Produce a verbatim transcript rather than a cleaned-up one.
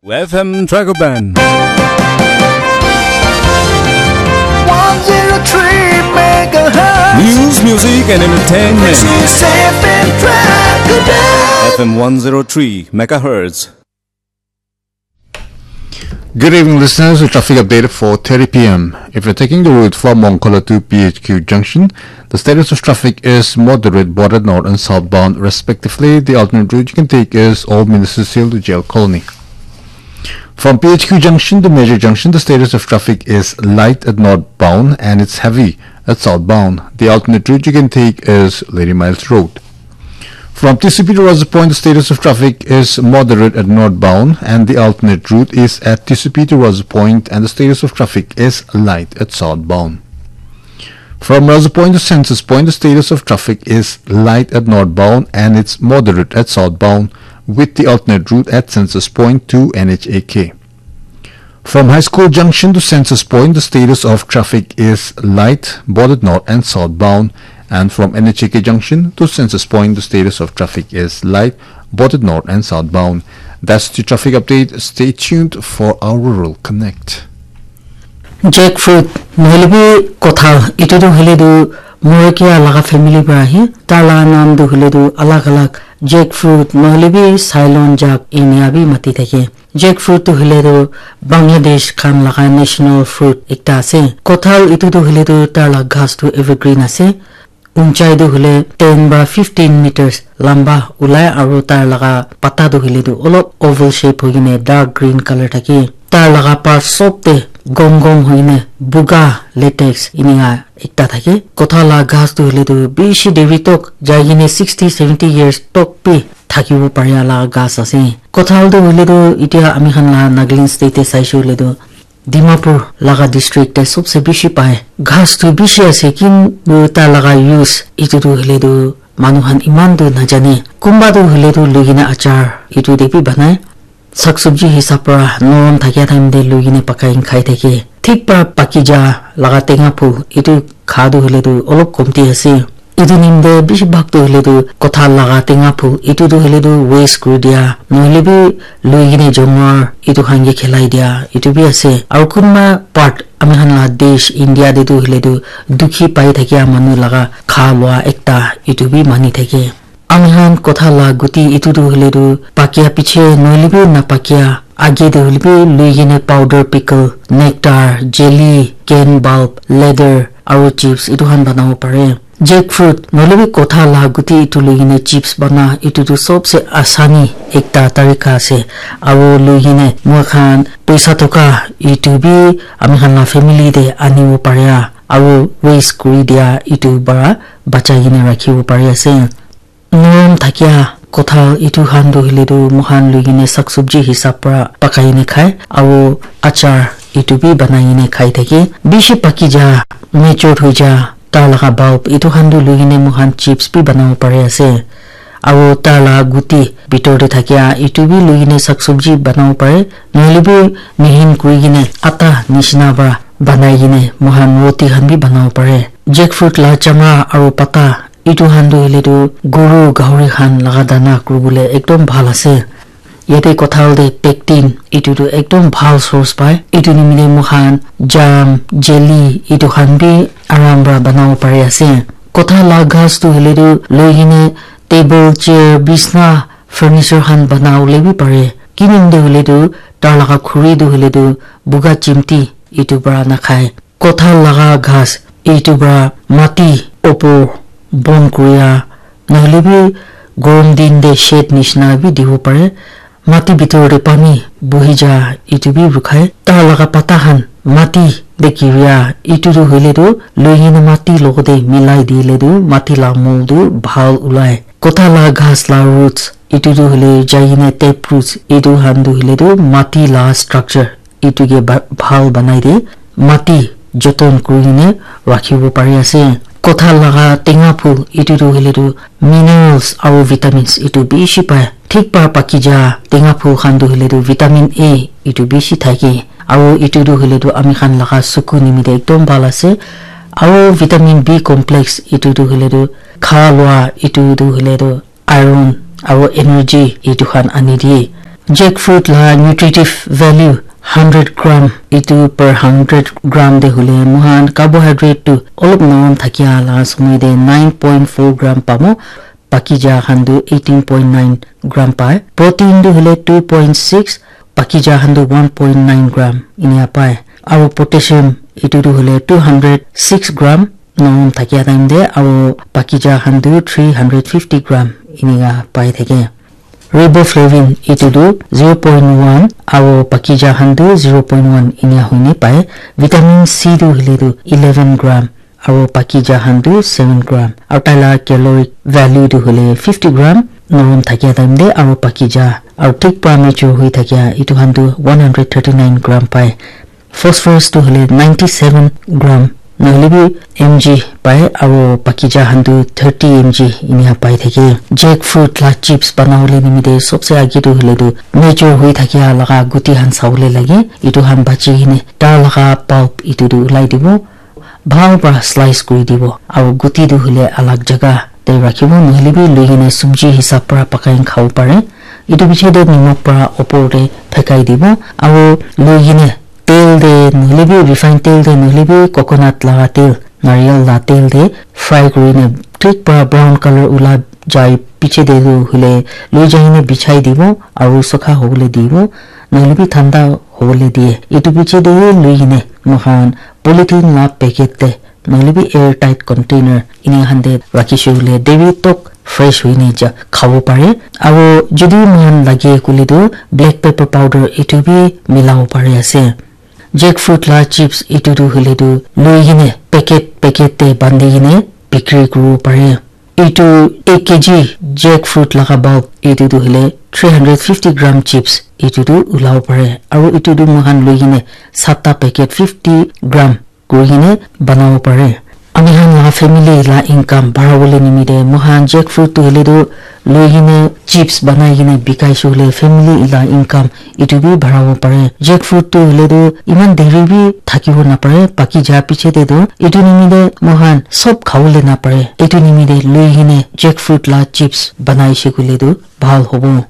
F M Dragoban. one zero three megahertz. News, music, and entertainment. This is F M Dragoban. F M one zero three megahertz. Good evening, listeners. A traffic update for thirty p m. If you're taking the route from Mongkhola to P H Q Junction, the status of traffic is moderate, both at north and southbound, respectively. The alternate route you can take is Old Ministry Hill to Jail Colony. From P H Q Junction to Major Junction, the status of traffic is light at northbound and it's heavy at southbound. The alternate route you can take is Lady Miles Road. From T C P to Rosas Point, the status of traffic is moderate at northbound, and the alternate route is at T C P to Rosas Point, and the status of traffic is light at southbound. From Rosas Point to Census Point, the status of traffic is light at northbound and it's moderate at southbound, with the alternate route at Census Point to N H A K. From High School Junction to Census Point, the status of traffic is light, both at north and southbound. And from N H A K Junction to Census Point, the status of traffic is light, both at north and southbound. That's the traffic update. Stay tuned for our Rural Connect. Jackfruit nohoilebi kothal, etu tu hoile tu morokia laga family para ahe. Tar laga naam tu hoile tu alag alag jackfruit nohoilebi Ceylon jack enia bi mati thake. Jackfruit tu hoile tu Bangladesh khan laga national fruit ekta ase. Kothal etu tu hoile tu tar laga ghas tu evergreen ase. Unchai tu hoile ten para fifteen meters lamba ulai aru tar laga pata tu hoile tu olop oval shape hoi kene dark green colour thake. Tar laga part sob te gom gom hoi kene buga latex enika ekta thake. Kothal laga ghas tu hoile tu bishi deri tok jai kene sixty seventy years tok bi thakibo paria laga ghas ase. Kothal tu hoile tu etia ami khan laga Nagaland state te saishe hoile tu Dimapur laga district te sobse bishi pai. Ghas tu bishi ase, kintu tai laga use etu tu hoile tu manu khan eman tu najane. Kunba tu hoile tu lui kena achar etu te bi banai. Sak sabji hisab para norom thakia time te lui kena pakai kena khai thake. Thik para paki ja laga tenga phul etu kha tu hoile tu olop komti ase. Etu nim te bishi bhag tu hoile tu kothal laga tenga phul etu tu hoile tu waste kuri dia, nohoile bi lui kena jongor etu khan ke khelai dia etu bi ase. Aru kunba part ami khan laga desh India te tu hoile tu dukhi pai thakia manu laga kha lua ekta etu bi mani thake. Ami khan kothal laga guti etu tu hoile tu pakia piche nohoile bi napakia age te hoile bi lui kena powder, pickle, nectar, jelly, cane pulp, leather aru chips etu khan banabo pare. Jackfruit nohoile bi kothal laga guti etu lui kena chips bana etu tu sobse asani ekta tarika ase. Aru lui kena moi khan poisa toka etu bi ami khan laga family te anibo paria aru waste kuri dia etu para bachai kena rakhibo pari ase. Norom thakia kothal etu khan tu hoile tu moi khan lui kena sak sabji hisab para pakai kena khai aru achar etu bi banai kena khai thake. Bishi paki ja, mature hoi ja, tar laga bulb etu khan tu lui kena moi khan chips bi banabo pari ase. Aru tar laga guti bitor te thakia etu bi lui kena sak sabji banabo pare. Nohoile bi mihin kuri kena atta nishina para banai kena moi khan roti khan bi banabo pare. Jackfruit laga chamra aru pata etu khan tu hoile tu goru gahori khan laga dana kuribole ekdom bhal ase. Yate kothal te pectin etu tu ekdom bhal source pai. Etu nimite moi khan jam, jelly etu khan bi aram para banabo pari ase. Kothal laga ghas tu hoile tu lui kena table, chair, bisna, furniture khan banabole bi pare. Kinimite hoile tu tar laga khuri tu hoile tu buga chimti etu para nakhai. Kothal laga ghas etu para mati opor bon kuria nohoile bi gorom din te shade nishina bi dibo pare. Mati bitor te pani bohi ja etu bi rukhai. Tar laga pata khan mati te giria etu tu hoile tu lui kena mati logote milai dile tu mati laga mol tu bhal ulai. Kothal laga ghas laga roots etu tu hoile jai kena tap roots etu khan tu hoile tu mati laga structure etu ke ba- bhal banai de mati joton kuri kena rakhibo pari ase. Kothal laga tenga phul etu tu hoile tu minerals aru vitamins etu bishi pai. Thik para paki ja tenga phul khan tu hoile tu vitamin A etu bishi thake. Aru etu tu hoile tu ami khan laga suku nimite ekdom bhal ase. Aru vitamin B complex etu tu hoile tu kha lua etu tu hoile tu iron aru energy etu khan ani diye. Jackfruit la nutritive value hundred gram, itu per hundred gram te hoile moikhan carbohydrate tu olop norom thakia la somoi te nine point four gram pabo, pakija khan tu eighteen point nine gram pai. Protein tu hoile two point six, pakija khan tu one point nine gram inia pai. Aro potassium itu tu hoile two hundred six gram norom thakia time te, aro pakija khan tu three hundred fifty gram inika pai thake. Riboflavin itu tu zero point one aro pakija khan tu zero point one inia hoine pai. Vitamin C tu hoile tu eleven gram aro pakija khan tu seven gram. Aro taila caloric value tu hoile fifty gram norom thakia time te, aro pakija aro thik pra mature hui thakia itu khan tu one hundred thirty nine gram pai. Phosphorus tu hoile ninety seven gram nohoile bi M G pai, aro pakija khan tu thirty M G inika pai thake. Jackfruit la chips banabole nimite sobse age tu hoile tu mature hui thakia laga guti khan sabole lage. Itu khan bachi kene tar laga pulp itu tu ulai dibo, bhal pra slice kuri dibo, aro guti tu hoile alag jaga te rakhibo, nohoile bi lui kene subji hisab pra pakai kene khabo pare. Itu piche te nimok pra opor te phekai dibo, aro lui kene tel te nohoile bi refined tel te nohoile bi coconut laga tel, nariyal la tel te fry kuri kene thik pra brown color ula jai piche te tu hoile lui jai kene bichai dibo, aro sukha hobole dibo, nohoile bi thanda hobole diye. Itu piche te lui kene moikhan polythene la packet te nohoile bi air tight container ini khan te rakhi shey koile deri tok fresh hoine ja khabo pare. Aro jodi moikhan lage koile tu black pepper powder itu bi milabo pari ase. Jackfruit la chips itu tu hoile tu lui kene packet packet te bandi kene bikri kuribo pare. Itu ek K G jackfruit laga bulk itu tu hoile three hundred fifty gram chips itu tu ulabo pare. Aro itu tu moikhan lui kene satta packet fifty gram kuri kene banabo pare. Ami khan laga family la income barabole nimite moikhan jackfruit tu hoile tu lui kene chips banai kene bikai shey koile family la income itu bi barabo pare. Jackfruit tu hoile tu iman deri bi thakibo napare, paki ja piche te tu itu nimite moikhan sob khabole napare. Itu nimite lui kene jackfruit la chips banai shey koile tu bhal hobo.